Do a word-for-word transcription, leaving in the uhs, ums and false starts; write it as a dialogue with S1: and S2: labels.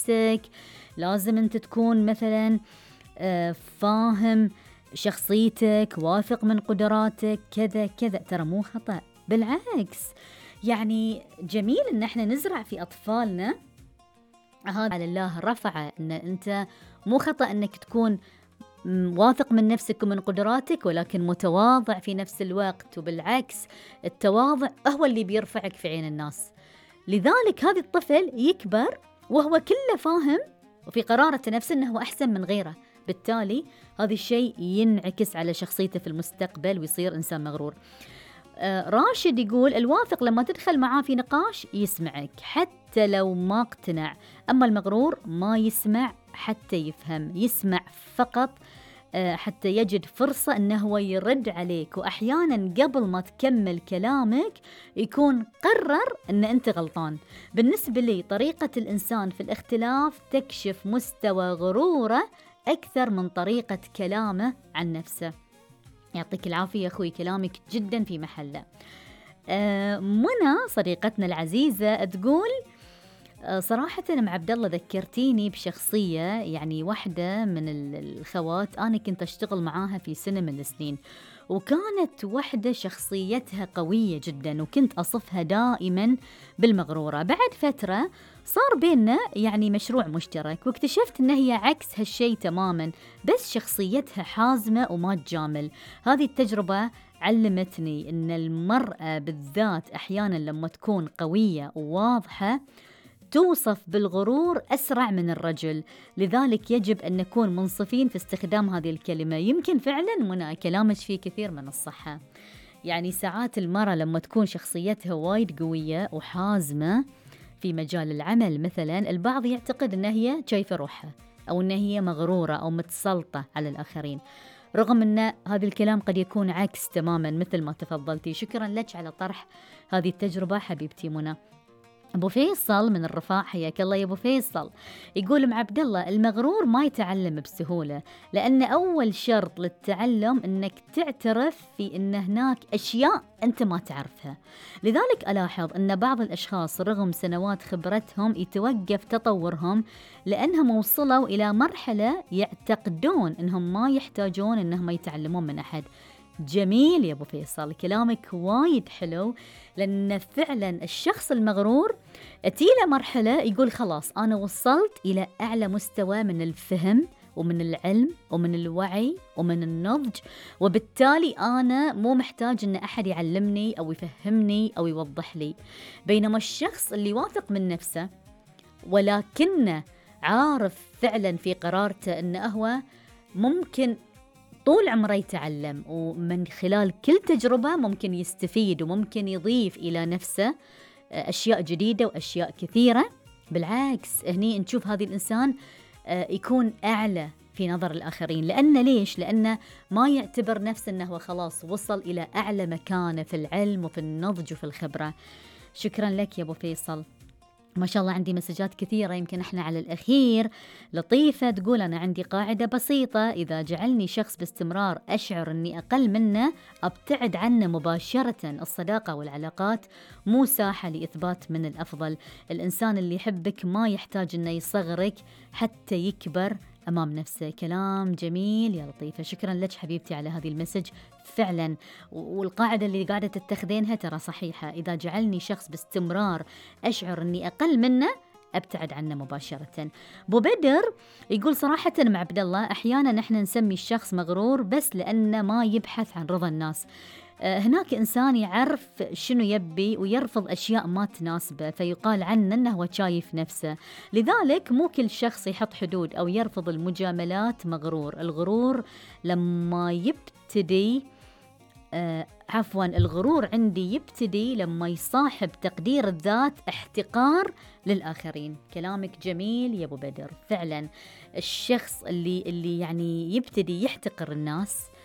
S1: نفسك، لازم أنت تكون مثلا آه، فاهم شخصيتك، واثق من قدراتك، كذا كذا. ترى مو خطأ، بالعكس. يعني جميل إن احنا نزرع في أطفالنا هذا على الله رفعه، إن أنت مو خطأ إنك تكون واثق من نفسك ومن قدراتك، ولكن متواضع في نفس الوقت. وبالعكس التواضع هو اللي بيرفعك في عين الناس. لذلك هذا الطفل يكبر وهو كله فاهم وفي قرارة نفسه أنه هو أحسن من غيره، بالتالي هذا الشيء ينعكس على شخصيته في المستقبل ويصير إنسان مغرور. آه راشد يقول الواثق لما تدخل معاه في نقاش يسمعك حتى لو ما اقتنع، أما المغرور ما يسمع حتى يفهم، يسمع فقط آه حتى يجد فرصة أنه هو يرد عليك، وأحيانا قبل ما تكمل كلامك يكون قرر أن أنت غلطان. بالنسبة لي طريقة الإنسان في الاختلاف تكشف مستوى غروره أكثر من طريقة كلامه عن نفسه. يعطيك العافية أخوي، كلامك جدا في محله. آه منى صديقتنا العزيزة تقول آه صراحة أنا مع عبد الله ذكرتيني بشخصية، يعني واحدة من الخوات أنا كنت أشتغل معاها في سنة من السنين، وكانت واحدة شخصيتها قوية جدا وكنت أصفها دائما بالمغرورة. بعد فترة صار بيننا يعني مشروع مشترك، واكتشفت أنها هي عكس هالشي تماما، بس شخصيتها حازمة وما تجامل. هذه التجربة علمتني أن المرأة بالذات أحيانا لما تكون قوية وواضحة توصف بالغرور أسرع من الرجل، لذلك يجب أن نكون منصفين في استخدام هذه الكلمة. يمكن فعلا منى كلامك فيه كثير من الصحة، يعني ساعات المرأة لما تكون شخصيتها وايد قوية وحازمة في مجال العمل مثلا، البعض يعتقد أنها هي شايفة روحها أو أنها هي مغرورة أو متسلطة على الآخرين، رغم أن هذا الكلام قد يكون عكس تماما مثل ما تفضلتي. شكرا لك على طرح هذه التجربة حبيبتي منى. أبو فيصل من الرفاع حياك الله يا أبو فيصل، يقول مع عبد الله المغرور ما يتعلم بسهولة، لأن أول شرط للتعلم أنك تعترف في أن هناك أشياء أنت ما تعرفها. لذلك ألاحظ أن بعض الأشخاص رغم سنوات خبرتهم يتوقف تطورهم لأنهم وصلوا إلى مرحلة يعتقدون أنهم ما يحتاجون أنهم يتعلمون من أحد. جميل يا أبو فيصل، كلامك وايد حلو، لأن فعلا الشخص المغرور أتيله مرحلة يقول خلاص أنا وصلت إلى أعلى مستوى من الفهم ومن العلم ومن الوعي ومن النضج، وبالتالي أنا مو محتاج أن أحد يعلمني أو يفهمني أو يوضح لي. بينما الشخص اللي واثق من نفسه ولكنه عارف فعلا في قرارته أنه هو ممكن طول عمره يتعلم، ومن خلال كل تجربة ممكن يستفيد وممكن يضيف إلى نفسه أشياء جديدة وأشياء كثيرة. بالعكس هني نشوف هذا الإنسان يكون أعلى في نظر الآخرين. لأن ليش؟ لأنه ما يعتبر نفسه أنه خلاص وصل إلى أعلى مكانة في العلم وفي النضج وفي الخبرة. شكرا لك يا أبو فيصل. ما شاء الله عندي مسجات كثيرة، يمكن احنا على الأخير. لطيفة تقول أنا عندي قاعدة بسيطة، إذا جعلني شخص باستمرار أشعر أني أقل منه أبتعد عنه مباشرة. الصداقة والعلاقات مو ساحة لإثبات من الأفضل. الإنسان اللي يحبك ما يحتاج أنه يصغرك حتى يكبر أمام نفسه. كلام جميل يا لطيفة، شكرا لك حبيبتي على هذه المسج. فعلا والقاعدة اللي قاعدة تتخذينها ترى صحيحة، إذا جعلني شخص باستمرار أشعر أني أقل منه أبتعد عنه مباشرة. بو بدر يقول صراحة مع عبد الله أحيانا نحن نسمي الشخص مغرور بس لأنه ما يبحث عن رضا الناس. هناك إنسان يعرف شنو يبي ويرفض أشياء ما تناسبه، فيقال عنه أنه هو شايف نفسه. لذلك مو كل شخص يحط حدود أو يرفض المجاملات مغرور. الغرور لما يبتدي آه عفوا الغرور عندي يبتدي لما يصاحب تقدير الذات احتقار للآخرين. كلامك جميل يا أبو بدر. فعلا الشخص اللي اللي يعني يبتدي يحتقر الناس